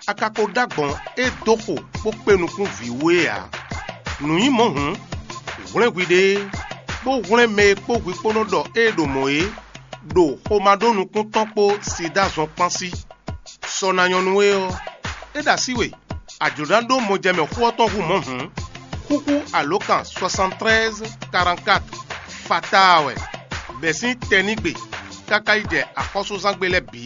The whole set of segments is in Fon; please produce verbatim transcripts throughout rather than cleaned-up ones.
a ka ko ɖó agbɔ̌n e dó xo bó kpé nukún vǐ wú é ǎ. Nǔ nyí mɔ̌ hǔn, hwlɛ́n hwiɖée, bó hwlɛ́n mɛ e kpó hwi kpó nɔ ɖɔ ée ɖo mɔ̌ é, ɖo xomá ɖó nukún tɔn kpó Siɖá zɔn kpán sí. Sɔ ná nyɔ́ nú we ɔ́, é ɖo así we, a jlǒ ná ɖó mɔjɛmɛ xó ɔ́ tɔn hú mɔ̌ hǔn, xúxú alǒkan soixante-treize quarante-quatre fataa wɛ, bɛ̌ sín tɛnígbe káká yi jɛ axɔ́súzángbe lɛ́ɛ bǐ,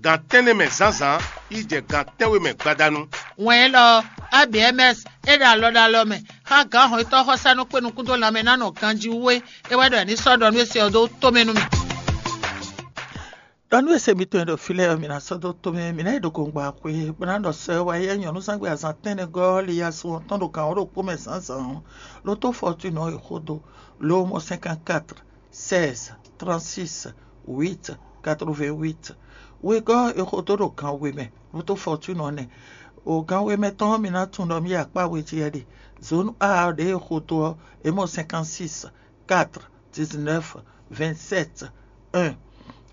gan tɛ́nnɛ mɛ zǎnzǎn yi jɛ gan tɛ́nwe mɛ gbadanu. Wɛn élɔ́ ɔ́, A B M S é ɖo alɔ ɖo alɔ mɛ xá gǎn hɔnnyitɔ́ xɔsánú kpé nukún dó lanmɛ ná nɔ ganjí wú é. É wɛ ɖɔ è ní sɔ́ ɖɔ nú é se ɔ́ dó tomɛ nú mì. Ɖɔ nú e se mitɔn e ɖo fí lɛ́ɛ ɔ́, mi ná sɔ́ dó tomɛ, mi ná yi ɖo gongba xwe, bó ná ɖɔ sɔ e wá yi nyɔ̌nuzángbe azǎn tɛ́nnɛgɔ́ ɔ́ li ya sun ɔ́ tɔn ɖo gǎn wǒ ɖokpó mɛ zǎnzǎn ɔ́, ló tó fɔtúnɔ e xó dó, lo mɔ cinquante-quatre, seize, trente-six, huit, quatre-vingt-huit. Wegɔ́ e xo dó ɖo gan we mɛ, ló tó fɔtúnɔ nɛ́. O gan we mɛ tɔn ɔ́, mi ná tunwun ɖɔ mì yi akpá we jí wɛ ɖe. Zǒnu A ɔ́ ɖě e xo dó ɔ́, é mɔ cinquante-six, quatre, dix-neuf, vingt-sept, un.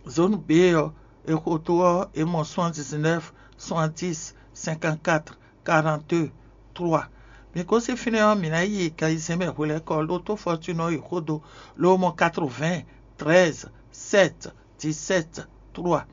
Zone B ɔ́, è xo dó ɔ́, è mɔ soixante-dix-neuf, soixante-dix, cinquante-quatre, quarante-deux, trois. Mi gosín fínɛ́ ɔ́, mǐ ná yi gan ayizɛ́n mɛ hwelɛ́kɔ, ló tó Fortune ɔ́ yi xó dó, ló mɔ quatre-vingts, treize, sept, dix-sept, trois.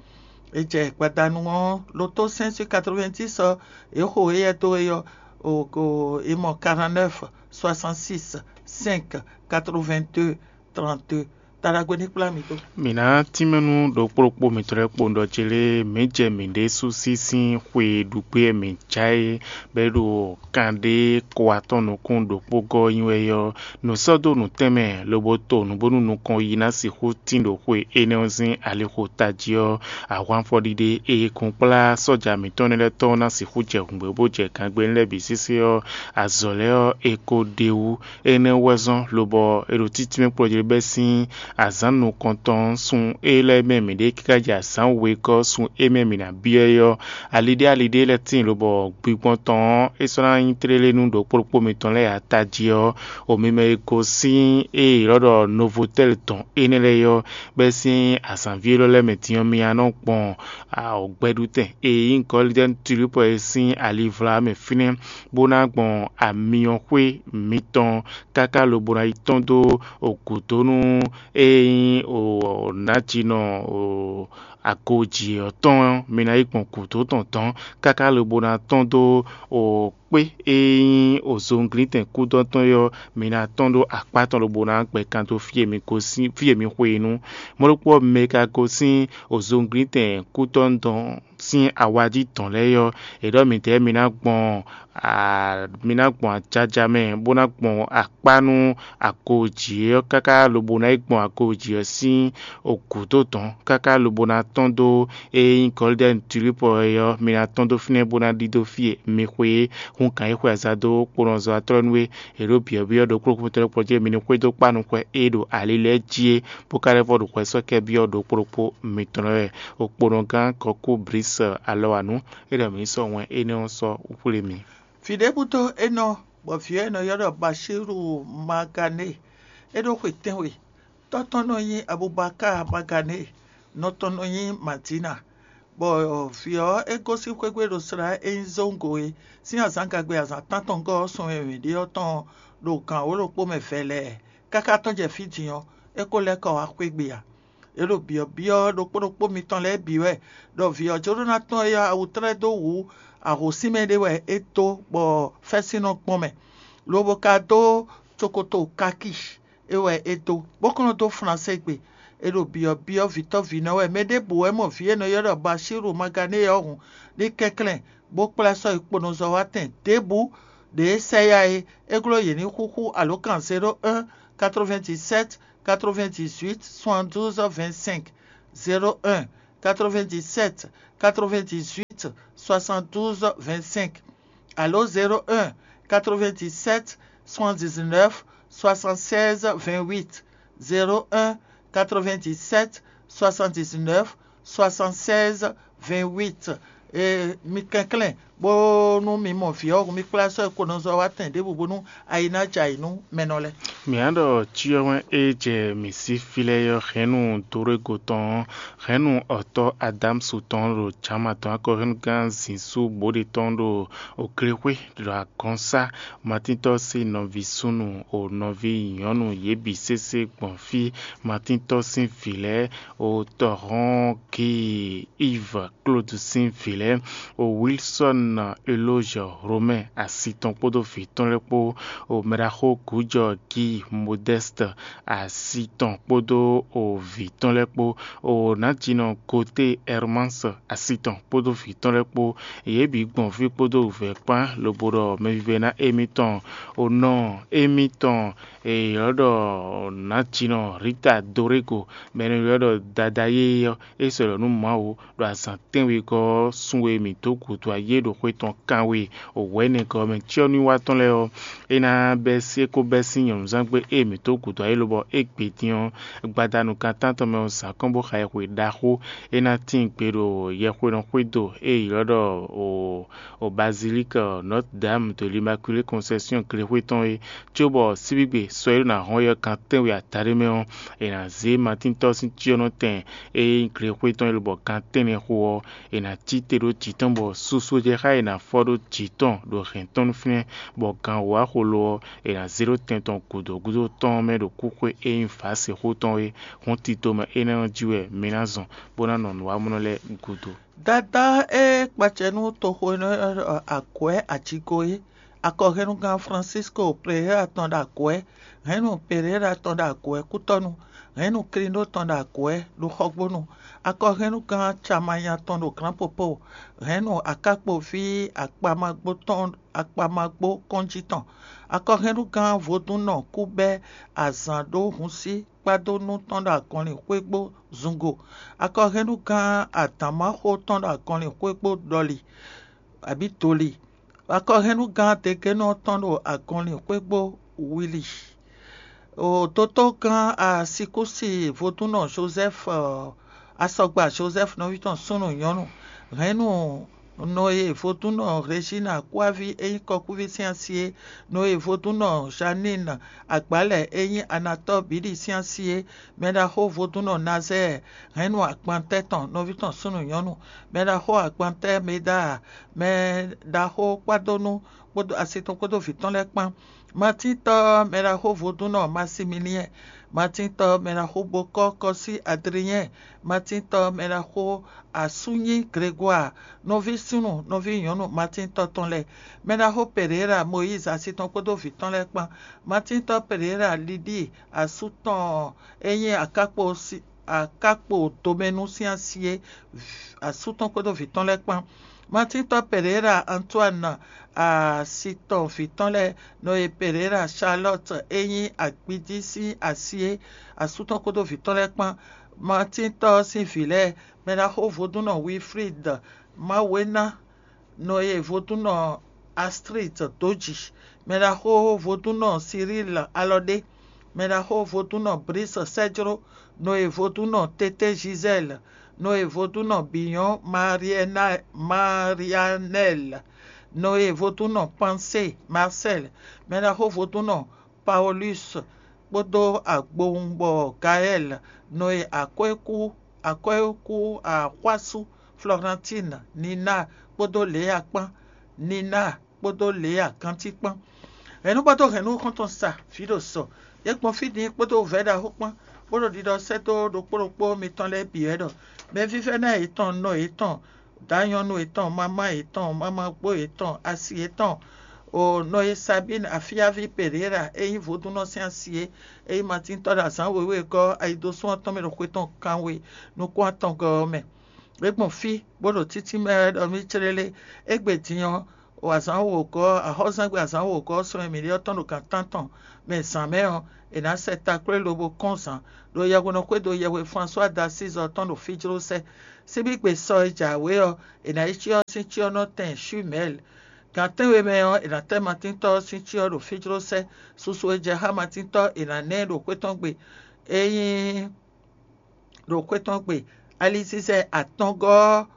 È jɛ gbadanu ɔ́, ló tó cinq sur quatre-vingt-dix ɔ́, è xo éyɛ́ dó é ɔ́, è mɔ quarante-neuf, soixante-six, cinq, quatre-vingt-deux, trente-deux. Taɖagbe ní kplá mi dó. Mǐ ná tínmɛ nú ɖokpó ɖokpó mitɔn lɛ́ɛ kpowun ɖɔ ce lé mǐ jɛ mǐ ɖésú sí sín xwe ɖu gbé e mǐ já é, bɔ é ɖo kan ɖé ko atɔn nukún ɖokpó gɔ́ nyi wɛ ɔ́, nǔ sɔ́ dó nǔ tɛnmɛ lobo to nǔ bónú nukɔn yi ná sixú tín ɖo xwe énɛ́ ɔ́ sín alixo tají ɔ́, ahwanfɔɖiɖe e è kun kplá sɔ́ja mǐtɔn énɛ́ lɛ́ɛ tɔn ná sixú jɛ hǔngbɛ́ bó jɛ gangbé lɛ́ɛ bǐ sésé ɔ́, azɔ̌ lɛ́ɛ ɔ́, è ko ɖe wú. Énɛ́ wɛ zɔ́n lobɔ è ɖo títínmɛ kplɔ́ jí bɛ́ sín azǎn nukɔntɔn sun e lɛ́ɛ mɛ mǐ ɖe káká jɛ azǎn wegɔ́ sun e mɛ mǐ ná byɔ́ é ɔ́, aliɖé aliɖé lɛ́ɛ tíin lobɔ gbigbɔn tɔn ɔ́, é sɔ́ ná nyí tlélé nú ɖokpó ɖokpó mitɔn lɛ́ɛ ata jí ɔ́, omimɛ e gosín e è ylɔ́ ɖɔ Novotɛ́l tɔn énɛ́ lɛ́ɛ é ɔ́, bɛ́ sín azǎnví élɔ́ lɛ́ɛ mɛ din ɔ́, mi ná nɔ gbɔn gbɛɖutɛn e nyí Gɔ́lidɛ́n Tulípɔ é sín alivlá mɛ fínɛ́, bó ná gbɔn amyɔxwé mitɔn káká lobo ná yi tɔ́n dó gǔdo nú e nyí nǎjinɔ agoji ɔ́ tɔn ɔ́, mi ná yi gbɔn gǔdo tɔn dɔ̌n káká lobo ná tɔ́n dó kpé e nyí ozonglítɛn kúdɔ́ tɔn é ɔ́, mi ná tɔ́n ɖó akpá tɔn lobo ná gbɛ kan dó fí e mi gosín, fí e mi xwe é nu. Mɔ̌ ɖokpó ɔ́, mɛ e ka gosín ozonglítɛn kúdɔ́ tɔn sín awají tɔn lɛ́ɛ ɔ́, è ɖɔ mǐdɛɛ mi ná gbɔn mi ná gbɔn ajaja mɛ, bó ná gbɔn akpá nú agoji ɔ́ káká lobo ná yi gbɔn agoji ɔ́ sín gǔdo dɔ̌n káká lobo ná tɔ́n dó e nyí Gɔlidɛ́ni Tulípɔ é ɔ́, mi ná tɔ́n dó fínɛ́ bó ná ɖidó fí e mi xwe é. Hun gǎn e xwe aza dó kponɔzɔ́watɔ́ nú é, è ɖǒ byɔ̌byɔ́ ɖokpó ɖokpó tɔn kpɔ́ jí mi ní xwedó kpá nukɔn e ɖo ali lɛ́ɛ jí é, bó ka lɛ́ vɔ ɖo xwɛ sɔ́ kɛ byɔ́ ɖokpó ɖokpó mitɔn lɛ́ɛ wɛ. Okponɔgán Kɔkú Blǐs Alɔwanu é ɖɔ mǐ sɔ́ wɛn énɛ́ ɔ́ sɔ́ xwlé mì. Vǐ ɖěbǔ dó é nɔ, bɔ vǐ ɔ́ è nɔ ylɔ́ ɖɔ Baṣíru Magané, é ɖó xwe tɛ́nwe. Tɔ́ tɔn nɔ nyí Abubakar Magané, nɔ tɔn nɔ nyí Madina. Bɔ vǐ ɔ́, é gosín xwé gbe ɖo slá e nyí Zóŋgo é sín azǎngagbe azǎn tántɔngɔ́ ɔ́ sun e mǐ ɖe ɔ́ tɔn ɖo gǎn wǒ ɖokpó mɛ vɛlɛɛ. Káká tɔ́n jɛ fí din ɔ́, é ko lɛ́ kɔ wá xwé gbe ǎ. É ɖo byɔ̌byɔ́ ɖokpó ɖokpó mitɔn lɛ́ɛ bǐ wɛ, ɖɔ vǐ ɔ́ jló ná tɔ́n éyɔ́ awu tlɛ́ dó wǔ ahosínmɛ ɖé wɛ é dó, bɔ fɛ́sínnɔ gbɔn mɛ, lobo ka dó cokoto kaki é wɛ é dó, bó kɔn nɔ dó Flansée gbe. É ɖo byɔ̌byɔ́ vǐtɔ́vǐnɔ wɛ. Mɛ ɖěbǔ wɛ mɔ vǐ e è nɔ ylɔ́ ɖɔ Baṣíru Magané ɔ́ hǔn, ní kɛnklɛ́n, bó kplá sɔ́ yi kponɔzɔ́watɛn ɖěbǔ ɖě é sɛ yá é. É glɔ́ yě ní xúxú alǒkan zéro un, quatre-vingt-dix-sept, quatre-vingt-dix-huit, soixante-douze, vingt-cinq, zéro un, quatre-vingt-dix-sept, quatre-vingt-dix-huit, soixante-douze, vingt-cinq. Allô, zéro un, quatre-vingt-dix-sept, soixante-dix-neuf, soixante-seize, vingt-huit, zéro un, quatre-vingt-dix-sept, soixante-dix-neuf, soixante-seize, vingt-huit. Et mi kɛnklɛ́n Bónú mi mɔ vǐ ɔ́ hǔn, mi kplá sɔ́ ɛ ko nɔ zɔ wá tɛn ɖěbǔ bónú ayi ná jɛ ayǐ nú mɛ nɔ lɛ́ɛ. Mǐ á ɖɔ cyɔ wɛn e jɛ mǐ sí fí lɛ́ɛ ɔ́, hɛ̌nnu Dorego tɔn ɔ́, hɛ̌nnu ɔtɔ́ Adámsu tɔn ɖo jǎma tɔn akɔhɛ́nnugán zǐnsú bóɖe tɔn ɖo òklexwé ɖo agɔnsá. Matíntɔ́ sín nɔví súnnu o nɔví nyɔ̌nu yě bǐ sésé gbɔn fí. Matíntɔ́ sín vǐ lɛ́ɛ o tɔhɔn Gii Iv Klódu sín vǐ lɛ́ɛ, o Wilsɔ́n Elózhɛ Hlomɛ asi tɔn kpódó vǐ tɔn lɛ́ɛ kpó, o mɛɖaxó Gǔjɔ Gii Modɛ́st asi tɔn kpódó o vǐ tɔn lɛ́ɛ kpó, o nǎjínɔ Goté Ɛrmáns asi tɔn kpódó vǐ tɔn lɛ́ɛ kpó, yě bǐ gbɔn fí kpódó wǔvɛ́ kpán, lobo ɖɔ mɛvívɛ́ná émítɔn, o nɔ émítɔn e è ylɔ́ ɖɔ nǎjínɔ Rita Dorego, mɛ e è ylɔ́ ɖɔ Dadayé ɔ́, é sɔ́ lɔ̌ nú Mawu ɖo azǎn tɛ́nwegɔ́ ɔ́, sun e mǐ dó gǔdo ayé ɖo xwé tɔn kanwe wɛ̌nɛgɔ́ mɛ cyɔ́núwiwa tɔn lɛ́ɛ ɔ́, é ná bɛ́ sí é kó bɛ́ sín nyɔ̌nuzángbe e mǐ dó gǔdo ayé lobɔ é gbe din ɔ́, gbadanu kan tántɔn mɛ ɔ́ zǎn kɔn bó xa yɛhwe ɖaxó. É ná tíin gbe ɖo yɛhwenɔ xwédo e è ylɔ́ ɖɔ o o Bazilike Notre Dame de l'Immaculée Conception glexwé tɔn é, cóbɔ síbígbe sɔ e ɖó ná hɔn yɔ gan tɛ́nwe adaɖé mɛ ɔ́, è nǎ zé Matíntɔ́ sín cyɔ́nɔtɛn e nyí glexwé tɔn é lobɔ gan tɛ́nnɛ xo ɔ́, è nǎ cí te ɖó jǐ tɔn bɔ susu e jɛ xá è nǎ fɔ ɖó jǐ tɔn ɖo hɛ̌n tɔn nú fínɛ́, bɔ gan wǒ axo lo ɔ́, è nǎ zé ɖó tɛn tɔn gǔdo gúdo tɔn ɔ́ mɛ ɖo kúxwé e nyí Vǎsexó tɔn é. Hɔn tito mɛ énɛ́ ɔ́ jí wɛ mi ná zɔn bó ná nɔ nǔwamlɔ lɛ́ɛ gúdo. Dadá e kpacɛ nú toxo énɛ́ ɔ́ ɖɔ agwɛ̌ ajigo é, akɔhɛnnugán Francisco Pereira tɔn ɖo agwɛ̌, hɛ̌nnu Pereira tɔn ɖo agwɛ̌ kútɔ́nu, hɛ̌nnu Klindo tɔn ɖo agwɛ̌ ɖo xɔgbónu, akɔhɛnnugán Camanya tɔn ɖo Glǎnpopo, hɛ̌nnu Akákpoví akpamagbó tɔn akpamagbó kɔ́njí tɔn, akɔhɛnnugán vodúnnɔ kúbɛ́ azǎn ɖó hun sí kpádó nú tɔn ɖo agɔnlin xwégbó zungo, akɔhɛnnugán adǎnmáxó tɔn ɖo agɔnlin xwégbó ɖɔli abǐ doli, akɔhɛnnugán degénɔ tɔn ɖo agɔnlin xwégbó wili. O dotógán Asikúsi vodúnnɔ Joseph, asɔgba Joseph nɔví tɔn súnnu nyɔ̌nu, hɛ̌nnu Nɔye vodúnnɔ Rejina kúáví e nyí kɔkúví sín asi é, Nɔye vodúnnɔ Janine agbǎlɛ e nyí Anatɔ́ɔ bǐɖi sín asi é, mɛɖaxó vodúnnɔ Nazɛ́ɛ, hɛ̌nnu agbantɛ́ tɔn nɔví tɔn súnnu nyɔ̌nu, mɛɖaxó agbantɛ́ Medaa, mɛɖaxó kpádónú kpódó asi tɔn kpódó vǐ tɔn lɛ́ɛ kpán. Matíntɔ́ mɛɖaxó vodúnnɔ Masimiliɛ́n, Matíntɔ́ mɛɖaxó bokɔ́ kɔsí Adlinyɛ́n, Matíntɔ́ mɛɖaxó asúnyí Gregwaa, nɔví súnnu nɔví nyɔ̌nu Matíntɔ́ tɔn lɛ́ɛ, mɛɖaxó Pereera Mɔyízi asi tɔn kpódó vǐ tɔn lɛ́ɛ kpán, Matíntɔ́ Pereera Lidíi asú tɔn e nyí akákpo akákpo domɛnu sín asi é, asú tɔn kpódó vǐ tɔn lɛ́ɛ kpán. Matíntɔ́ Pereira Antoine asi tɔn vǐ tɔn lɛ́ɛ, Nɔye Pereira Charlotte e nyí agbíjí sín asi é, asú tɔn kpódó vǐ tɔn lɛ́ɛ kpán. Matíntɔ́ sín vǐ lɛ́ɛ, mɛɖaxó vodúnnɔ Wilfrid Mawéná, Nɔye vodúnnɔ Astrid Dóji, mɛɖaxó vodúnnɔ Cyril Alɔɖé, mɛɖaxó vodúnnɔ Brice Sɛ́jló, Nɔye vodúnnɔ Tété Gisèle, Nɔye vodúnnɔ Biyɔn Marianel, Nɔye vodúnnɔ Pansé Marcel, mɛɖaxó vodúnnɔ Paulus kpódó agbowungbɔ Gaël, Nɔye akwɛ́kú akwɛ́kú axwású Florentine, Nina kpódó Léa kpán, Nina kpódó Léa ganjí kpán. Hɛ̌nnu kpódó hɛ̌nnu xɔ́ntɔn sa vǐ ɖo sɔ. Yě gbɔn fí din kpódó vɛ̌ ɖaxó kpán, bó ɖo ɖiɖɔ sɛ́ dó ɖokpó ɖokpó mitɔn lɛ́ɛ bǐ wɛ ɖɔ: Mɛvívɛ́ná yětɔn, nɔ yětɔn, dǎnyɔ́nú yětɔn, mamá yětɔn, mamagbó yětɔn, asi yětɔn, o nɔ e Sabín Afíáví Pereira e nyí vodúnnɔ sín asi é, e nyí Matíntɔ́ ɖo azǎn wěwé gɔ́ ayidosún ɔ́ tɔn mɛ ɖo xwe tɔn kanwe nukún atɔngɔ́ ɔ́ mɛ. É gbɔn fí, bó ɖo títí mɛ wɛ ɖɔ mì clélé. Égbé din ɔ́, o azǎn wǒgɔ́, axɔ́zɛ́ngbe azǎn wǒgɔ́ ɔ́ sɔ́ mɛ mǐɖée ɔ́ tɔn ɖo gan tántɔn mɛ zǎn mɛ ɔ́, è nǎ sɛ taklwé lobo kɔn zǎn ɖo yɛhwenɔ xwédo yɛhwe François d'Assise ɔ́ tɔn ɖo fíjlósɛ́. Síbígbe sɔ e jǎwe ɔ́, è nǎ yi cyɔ ɔ́ sín cyɔ́nɔtɛn Shumɛl. Gan tɛ́nwe mɛ ɔ́, è nǎ tɛ́ Matíntɔ́ ɔ́ sín cyɔ ɖo fíjlósɛ́. Susu e jɛ xá Matíntɔ́ è nǎ ná ɛ ɖo xwé tɔn gbe. É nyí ɖo xwé tɔn gbe. Alizizɛ atɔngɔ́ ɔ́,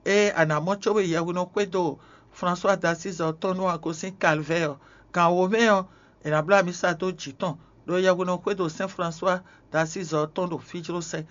ée a nǎ mɔ cóbɔ yɛhwinɔ xwédo François d'Assise ɔ́ tɔn nú a gosín Calvaire ɔ́, gan wǒ mɛ ɔ́, è nǎ bló amisa dó jǐ tɔn, ɖó yɛhweɖɔ xwédo Sɛ́n François d'Assise ɔ́ tɔn ɖo fí jló sɛ.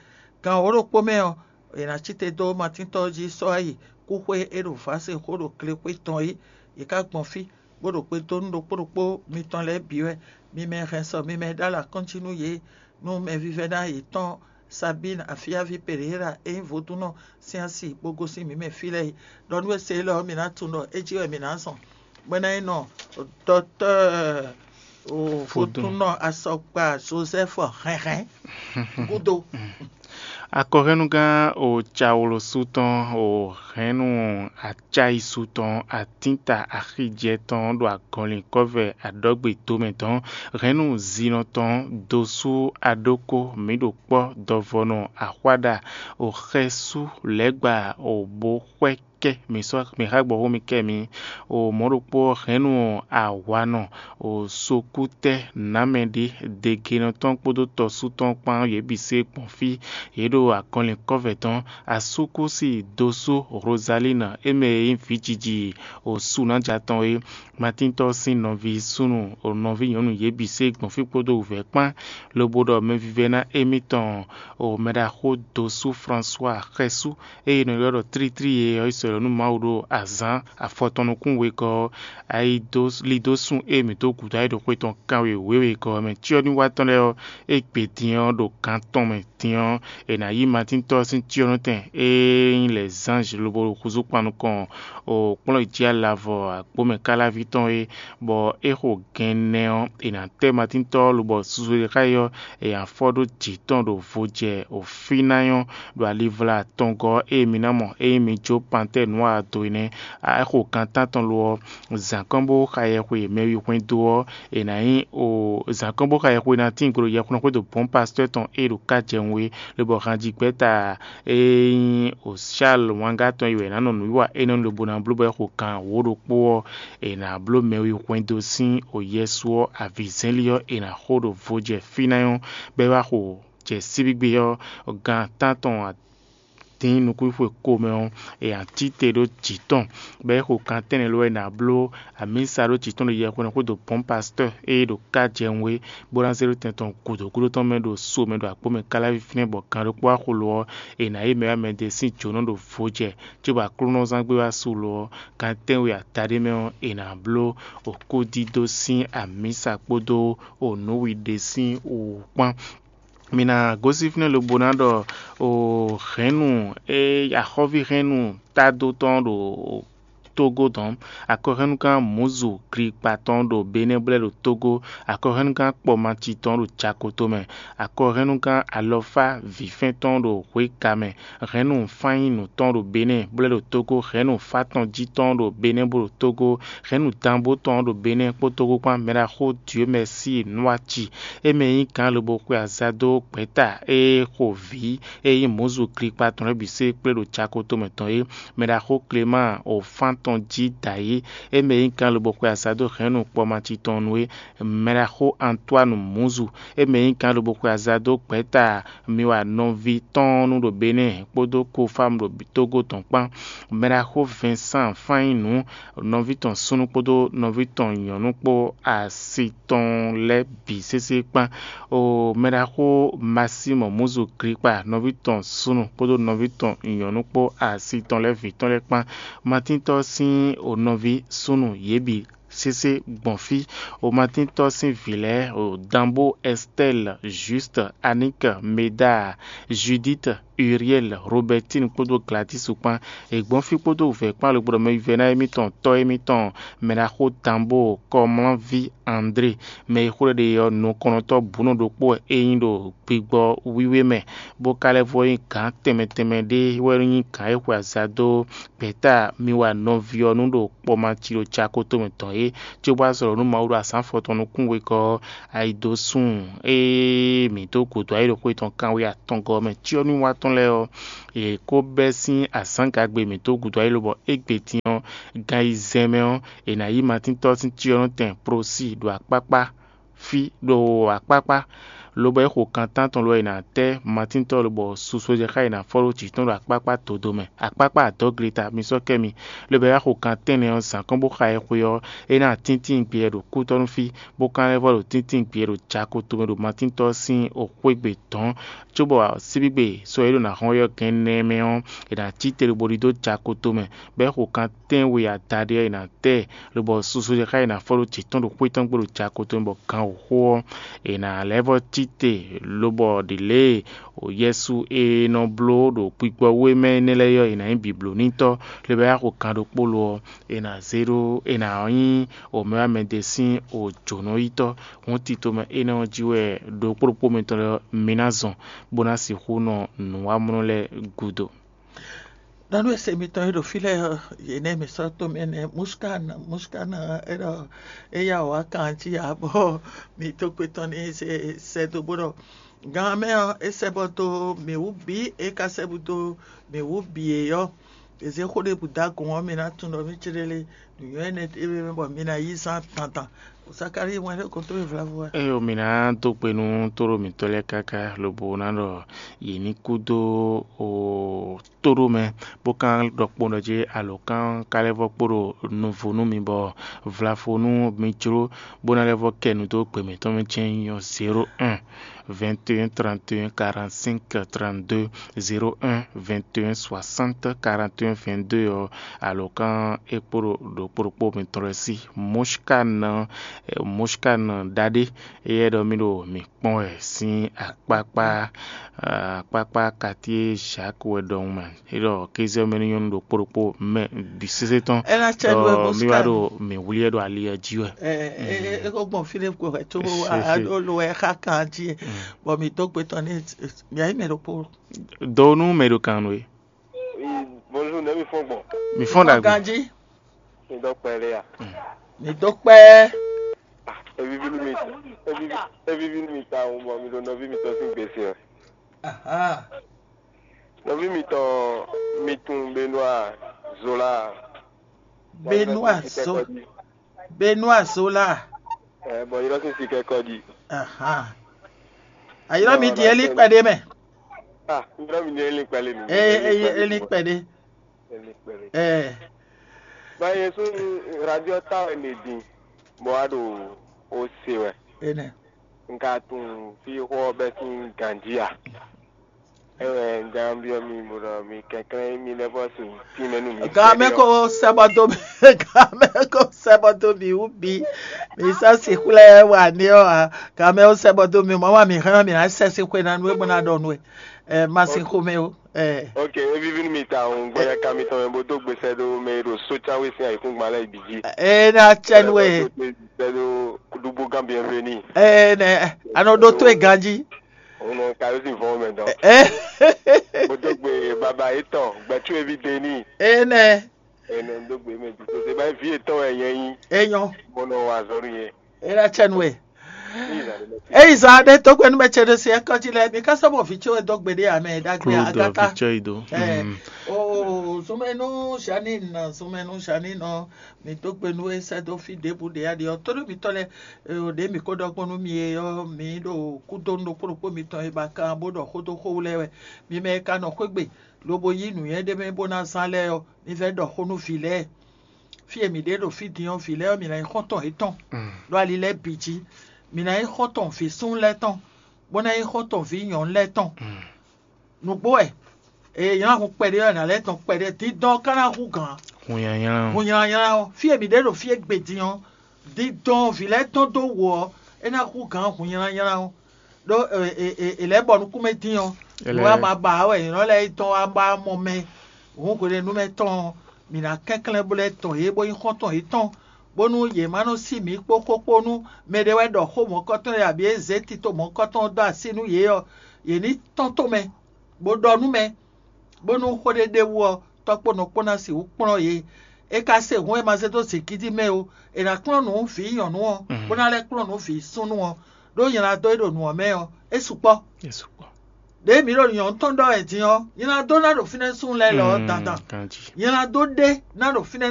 Gan wǒ ɖokpó mɛ ɔ́, è nǎ cí te dó Matín tɔ́ jí sɔ́ ayi kúxwé e ɖo vǎse xó ɖo glexwé tɔn é. Yě ká gbɔn fí, bó ɖo gbe dó nú ɖokpó ɖokpó mitɔn lɛ́ɛ bǐ wɛ. Mi mɛ hɛn sɔ mi mɛ ɖó alɔ akɔ́njí nú yě, nú mɛvívɛ́ná yětɔn Sabín Afíaví Pereira e nyí vodúnnɔ sín asi bó gosín mǐ mɛ fí lɛ́ɛ é. Ɖɔ nú we se élɔ́ ɔ́, mǐ ná tunwun ɖɔ é jí wɛ mǐ ná zɔn, bɔ é ná nyí nɔ dɔtɔ́ɔ vodúnnɔ asɔkpa Joseph Hɛnhɛn gúdo. Akɔhɛ́nnugán o cawlosu tɔn o hɛ̌nnu acáyisu tɔn atínta axijɛ tɔn ɖo agɔnlin kɔ́vɛ aɖɔgbe tomɛ tɔn hɛ̌nnu zinɔ tɔn dosú aɖókó mǐ ɖo kpɔ́ dɔvɔnɔ axwáɖa o xɛsú lɛ̌gba o bó xwɛ kɛ mǐ sɔ́ mǐ xá gbɔxó mì kɛ mǐ o mɔ̌ ɖokpó ɔ́ hɛ̌nnu awanɔ o sokútɛ́ nǎmɛɖé degenɔ tɔn kpódó tɔsú tɔn kpán yě bǐ se gbɔn fí. Yě ɖo akɔnlin kɔ́vɛ tɔn asúkúsi dosú Rozalína é mɛ e nyí vǐjiji o sunája tɔn é. Matíntɔ́ sín nɔví súnnu o nɔví nyɔ̌nu yě bǐ se gbɔn fí kpódó wǔvɛ́ kpán, lobo ɖɔ mɛvívɛ́ná émítɔn o mɛɖaxó dosú Fransua xɛsú ée è nɔ ylɔ́ ɖɔ Tlítlí e ɔ́ yi sɔ́ nú Mawu ɖo azǎn afɔtɔn nukún wegɔ́ ɔ́, ayi dó li dó sun e mǐ dó gǔdo ayǐ ɖo xwe tɔn kanwe wěwegɔ́ ɔ́ mɛ. Cyɔ́nywatɔ́ lɛ́ɛ ɔ́, é gbe din ɔ́ ɖo gan tɔn mɛ din ɔ́, è nǎ yí Matíntɔ́ ɔ́ sín cyɔ́nɔtɛn e nyí lɛ̌zánzhi lobo ɖo húzú kpan nukɔn o kplɔ́n yi jí alavɔ agbǒmɛ káláví tɔn é, bɔ é xo gɛnnɛ ɔ́, è nǎ tɛ́ Matíntɔ́ ɔ́ lobɔ susu e xá yi ɔ́, è nǎ fɔ ɖó jǐ tɔn ɖo vo jɛ o fí ná nyɔ́ ɖo alivla atɔngɔ́ e mi ná mɔ ényí mi jó pantɛ́ɛ nǔ ado é nɛ́. É xo gan tántɔn lo ɔ́, zǎnkɔ́nbó xa yɛxwe mɛwi hwɛndo ɔ́, è nǎ nyí o zǎnkɔ́nbó xa yɛxwe ná tín gbe ɖo yɛxwɛ́nxwé ɖo bɔ̌n pastɔ́ tɔn e ɖo ká jɛ wun é, lobɔ hanjigbɛ́ta e nyí o Charles wangá tɔn yi wɛ è nǎ nɔ nǔwiwa énɛ́ nu lobo ná bló bɔ é xo gan wǒ ɖokpó ɔ́, è nǎ bló mɛwi hwɛndo sín o Yɛsu ɔ́ avǐzɛ́nlí ɔ́ è nǎ xo ɖo vo jɛ fí ná nyɔ́, bɔ é wá xo jɛ síbígbe ɔ́, gan tántɔn dín nukúnxwe ko mɛ ɔ́, è nǎ cí te ɖó jǐ tɔn, bɔ é xo kan tɛ́nnɛ lɔ wɛ è nǎ bló amǐsa ɖó jǐ tɔn ɖo yɛhweɖɔ xwédo bɔ̌n pastɔ́ e ɖo ká jɛ wun é, bó ná zé ɖó tɛn tɔn gǔdo gúdo tɔn mɛ ɖo so mɛ ɖo akpó mɛ káláví fínɛ́ bɔ gan ɖokpó wá xo lo ɔ́, è nǎ yí mɛ wá mɛ ɖé sín jǒnɔ ɖo vo jɛ, cóbɔ Aklúnɔzán gbé wá su lo ɔ́, gan tɛ́nwe adaɖé mɛ ɔ́, è nǎ bló okúdídó sín amǐsa kpódó onǔwiɖe sín wǔ kpán. Mi ná gosín fínɛ́ lobo ná ɖɔ o hɛ̌nnu e axɔ́ví hɛ̌nnu tádó tɔn ɖo Tógó dɔn, akɔhɛ́nnugán Mǔzu Glipatɔn ɖo Benɛ́blɛ́ ɖo Tógó, akɔhɛ́nnugán Kpɔmaci tɔn ɖo Jakoto mɛ, akɔhɛ́nnugán Alɔfá vǐfɛ́n tɔn ɖo Hwěga mɛ, hɛ̌nnu Fányinu tɔn ɖo Benɛ́ blɛ́ ɖo Tógó, hɛ̌nnu Fátɔnjí tɔn ɖo Benɛ́ bó ɖo Tógó, hɛ̌nnu Danbó tɔn ɖo Benɛ́ kpó Tógó kpán, mɛɖaxó Dieu Merci Nɔ́aci, é mɛ nyí gǎn lobo xwe aza dó gbɛ̌ta e xo vǐ e nyí Mǔzu Glipatɔn lɛ́ɛ bǐ sé kplé ɖo Jakoto mɛ tɔn é, mɛɖaxó Klemáa o fán tɔn jí dǎyé, é mɛ nyí gǎn lobo xwe aza dó hɛ̌nnu Kpɔmaci tɔn nu é, mɛɖaxó Antoine Mǔzu, é mɛ nyí gǎn lobo xwe aza dó gbɛ̌ta mi wa nɔví tɔn nu ɖo Benɛ́ kpódó Kofámu ɖo Tógó tɔn kpán, mɛɖaxó Vincent Fányinu, nɔví tɔn súnnu kpódó nɔví tɔn nyɔ̌nu kpó asi tɔn lɛ́ɛ bǐ sésé kpán. O mɛɖaxó Masímɔ Mǔzu Glipá, nɔví tɔn súnnu kpódó nɔví tɔn nyɔ̌nu kpó asi tɔn lɛ́ɛ vǐ tɔn lɛ́ɛ kpán. Matíntɔ́ sín o nɔví súnnu yě bǐ sésé gbɔn fí. O Matíntɔ́ sín vǐ lɛ́ɛ o Danbó Ɛstɛ́l, Júst, Aník, Medá, Judíit, Uriɛ́l, Robɛtín kpódó Glatísu kpán. È gbɔn fí kpódó wǔvɛ́ kpán lobo ɖɔ mɛ vívɛ́ná émítɔn tɔ́ émítɔn mɛɖaxó Danbó Kɔmlánví André, mɛ e xó ɖɔ ɖe ɔ́ nukɔntɔ́ bǔnɔ ɖokpó wɛ é nyí ɖo gbigbɔ wíwé mɛ, bó ka lɛ́ vɔ nyí gǎn tɛnmɛ tɛnmɛ ɖé wɛ nyí gǎn e xwe aza dó gbɛ̌ta mi wa nɔví ɔ́ nu ɖo kpɔmaci ɖo Jakoto mɛ tɔn é, cóbɔ azɔ̌ nú Mawu ɖo azǎn afɔtɔn nukún wegɔ́ ɔ́, ayi dó sun ée mǐ dó gǔdo ayǐ ɖo xwe tɔn kanwe atɔngɔ́ mɛ. Cyɔ́nywatɔ́ lɛ́ɛ ɔ́, yě kó bɛ́ sín azǎngagbe mǐtɔn gúdo ayí lobɔ égbé din ɔ́, gan yi zɛn mɛ ɔ́, è nǎ yí Matíntɔ́ sín cyɔ́nɔtɛn Prosí ɖo akpákpá fí ɖo akpákpá lobɔ é xo kan tántɔn lobɔ è nǎ tɛ́ matíntɔ́ lobɔ susu e jɛ xá è nǎ fɔ́ ɖó jǐ tɔn ɖo akpákpá dǒdó mɛ, akpákpá adɔ̌gleta mi sɔ́ kɛ mi, lobɔ é wá xo kan tɛ́nnɛ ɔ́ zǎn kɔn bó xa ɛ xwe ɔ́, é ná tíntín gbeyɛ ɖo kútɔ́nú fí, bó ka lɛ́ vɔ́ ɖo tíntín gbeyɛ ɖo jako tomɛ ɖo matíntɔ́ sín xwégbè dɔ̌n, cóbɔ síbígbe sɔ e ɖo ná hɔn ɔ́ gɛ́n nɛ́ mɛ ɔ́, è nǎ cí te lobo ɖidó jako tomɛ, bɔ é xo kan tɛ́nwe adaɖé ɔ́, è nǎ tɛ lobɔ susu e xá è nǎ fɔ́ ɖó jǐ tɔn ɖo xwé tɔn gbe ɖo jako tomɛ bɔ gan wǒxo ɔ́, è nǎ lɛ́ vɔ́ cí te, lobɔ ɖě lě e Yɛsu e nɔ bló ɖo gbigbɔwú e mɛ énɛ́ lɛ́ɛ ɔ́, è nǎ nyí bǐblónítɔ́, lobo é wá xo kan ɖokpó lo ɔ́, è nǎ zé ɖó è nǎ nyí omɛwámɛdé sín jǒnɔyítɔ́. Hǔn tito mɛ énɛ́ ɔ́ jí wɛ ɖokpó ɖokpó mitɔn lɛ́ɛ ɔ́, mi ná zɔn, bó ná sixú nɔ nǔwamlɔ lɛ́ɛ gúdo. Nɔ́ nú e se mitɔn e ɖo fí lɛ́ɛ ɔ́, yě nɛ́ mǐ sɔ́ tomɛ nɛ́ Muskán, Muskán ɔ́, é ɖɔ é yá wǎ kan jí ǎ, bɔ mǐ dó gbe tɔn n'i sɛ́ dó bó ɖɔ: Gan mɛ ɔ́, é sɛ́ bɔ dó mǐ wú bǐ, é ka sɛ́ bú dó mǐ wú bǐ é ɔ́, è zě xó ɖěbǔ dó agun ɔ́, mi ná tunwun ɖɔ mì céɖélé nǔnywɛ́ énɛ́ ɖé mɛ bɔ mi ná yí zán dandan. Zakalíi wɛn ɖé gɔ́n towe vlavo wɛ. Ée mǐ ná dó gbe nú tóɖó mǐtɔn lɛ́ɛ káká, lobo ná ɖɔ yě ní kú dó o tóɖó mɛ, bó ka ɖɔ kpowun ɖɔ jí alǒkan ka lɛ́ vɔ́ kpo ɖo nuvo nú mi bɔ vlafo nú mi jló, bó ná lɛ́ vɔ́ kɛ nu dó gbe mǐtɔn mɛ jɛ́n nyí ɔ́, zéro un, vingt et un, trente et un, quarante-cinq, trente-deux, zéro un, vingt et un, soixante, quarante et un, vingt-deux ɔ́, alǒkan é kpo ɖo ɖokpó ɖokpó mitɔn lɛ́ɛ sí. Moshkan, Moshkan ɖaɖé, éyɛ́ ɖɔ mì ɖo mǐ kpɔ́n wɛ sín akpákpá, akpákpá quartier Jacques wɛ ɖɔhun mɛ. É ɖɔ kéze ɔ́ mɛ ní nyɔ́ nú ɖokpó ɖokpó mɛ bǐ sésé tɔn. É ná cɛ nú ɛ ɖɔ mì wá Moshkan. Ɖo mǐ wlí ɛ ɖo ali ɔ́ jí wɛ. Ɛ, ɛ, ɛ, é ko gbɔn fí ɖé ko wɛ, có wá ɖó lo wɛ xá kan jí, bɔ mǐ dó gbe tɔn ní mǐ ayí mɛ ɖokpó. Dó nú mɛ ɖo kan nú é. Oui, bonjour, nɛ̌ mi fɔ́n gbɔn? Mi fɔ́n ɖagbe. Ganjí. Mi dɔ kpɛ ɖé ya? Mi dó kpɛ. Ah, evivi nú mi, evivi, evivi nú mi tawun bɔ mi ɖo nɔví mitɔn sín gbèsè ɔ. Aha. Nɔví mitɔn, mi tun Benoît Zola. Benoît Zola. Benoît Zola. Ɛ, bɔ yrɔ sín sikɛ kɔ jí. Aha. Ayɔrɔ mi di eli kpɛɖe mɛ. Ah, yrɔ mi di eli kpɛɖe mi. Ee, eli kpɛɖe. Eli kpɛɖe. Ee. Ba ye sun radio ta wɛ ne din. Bɔ a ɖo o se wɛ. Ene. N ka tunun fí xó ɔ́ bɛ́ sín ganjí a? É wɛ un ján byɔ́ mi bó ɖɔ mi kɛnklɛ́n mi lɛ́ vɔ́ sin tínmɛ nú mi. Gamɛ ko sɛbɔ dó mi, gamɛ ko sɛbɔ dó mi wú bí. Mi sɔ́ si xwlɛ́ wà ní ɔ́ ǎ. Gamɛ ko sɛbɔ dó mi, mɔ̌ wà mǐ hɛn ɔ́, mǐ ná sɛ́ sín xwe ná nú é bó ná ɖɔ nú we. Ɛ, má sin xomɛ ó. Ɛ. Ok, é víví nú mi tawun, gbɔjɛka mitɔn mɛ bó dó gbesɛ ɖó mɛ e ɖo sócáwé sín ayǐkúngban lɛ́ɛ bǐ jí. Ɛ ná cɛ nú we. Sɛ ɖó ɖugbó gán bienvenue. Ɛ nɛ, anɔ ɖó tó e ganjí. Òun nɔ ka yóò sì vɔn mɛ dán. Ɛ. Bó dó gbe bàbá yětɔn, gbɛtú eví Deni. Ɛ nɛ. Ɛ nɛ dó gbe mɛ dùn tó ṣe báyìí ví yětɔn wɛ nyɛ yín. Ɛ nyɔ. Mo nɔ wà zɔn nìyẹn. Ɛ ná cɛ nú we. Eyi zan ɖe tó gbɛnu mɛ ce ɖe se ɛkɔ jí lɛ, mi ka sɔ bɔ vi ce wɛ dɔ gbe ɖe ame ɖagbe Claude agata. Vichɔido. Ɛ, o zumɛnu Janine, zumɛnu Janine ɔ, mi dó gbenu e sɛ dó fi ɖěbǔ ɖe aɖe ɔ, tó ɖo mitɔ lɛ, o ɖe mi ko ɖɔ gbɔnu mi e ɔ, mi ɖo kúdonu ɖokpó ɖokpó mitɔn e ba kan bó ɖɔ xó dó xó lɛ wɛ. Mi mɛ e ka nɔ xwégbe, lobo yí nǔnywɛ́ ɖé mɛ bó ná zán lɛ́ɛ ɔ, mi vɛ ɖɔ xó nú vǐ lɛ́ɛ. Fí e mǐ ɖe ɖo fí din ɔ́, vǐ lɛ́ɛ ɔ́, mǐ ná nyí xɔ́ntɔn yětɔn ɖo ali lɛ́ɛ bǐ jí. Mǐ ná nyí xɔ́ntɔn vǐ súnnu lɛ́ɛ tɔn, bó ná nyí xɔ́ntɔn vǐ nyɔ̌nu lɛ́ɛ tɔn. Nǔgbó wɛ, e nylá hun kpɛɖé ɔ́, è nǎ lɛ́ tɔn kpɛɖé. Dindɔn ɔ́ ka ná hú gǎn. Hun nyanya. Hun nylanyla ɔ́, fí e mǐ ɖe ɖo fí e gbe din ɔ́, dindɔn vǐ lɛ́ɛ tɔn dó wǒ ɔ́, é ná hú gǎn hun nylanyla ɔ́. Ɖó è lɛ̌ bɔ nukúnmɛ dín ɔ́, nǔ e a ma ba ǎ wɛ nyɔ̌nu lɛ́ɛ yi tɔn wá ba mɔ mɛ. Hǔn hwenɛ́nu mɛ tɔn ɔ́, mǐ ná kɛnklɛ́n bó lɛ́ tɔn yě bó nyí xɔ́ntɔn yětɔn, bónú yě má nɔ sí mǐ kpó xó kpó nú mɛɖé wɛ ɖɔ xó mɔ̌kɔtɔn e abǐ é zě tito mɔ̌kɔtɔn ɔ́ dó así nú yě ɔ́, yě ní tɔ́n tomɛ, bó ɖɔ nú mɛ, bónú xó ɖé ɖ'é wú ɔ́, tɔ́ kpó nɔ kpó ná sixú kplɔ́n yě. É ka se hǔn e ma zé dó zǐngídi mɛ ó, è nǎ kplɔ́n nǔ vǐ nyɔ̌nu ɔ́, bó ná lɛ́ kplɔ́n nǔ vǐ súnnu ɔ́, ɖó nylá dó e ɖo nǔ ɔ́ mɛ ɔ́, é sukpɔ́. Ɖěe mǐ ɖo nyɔ̌nu tɔn ɖɔ wɛ din ɔ́, nylá dó ná ɖo fínɛ́ súnnu lɛ́ɛ lɔ ɔ́ dandan. Nylá dó ɖé ná ɖo fínɛ́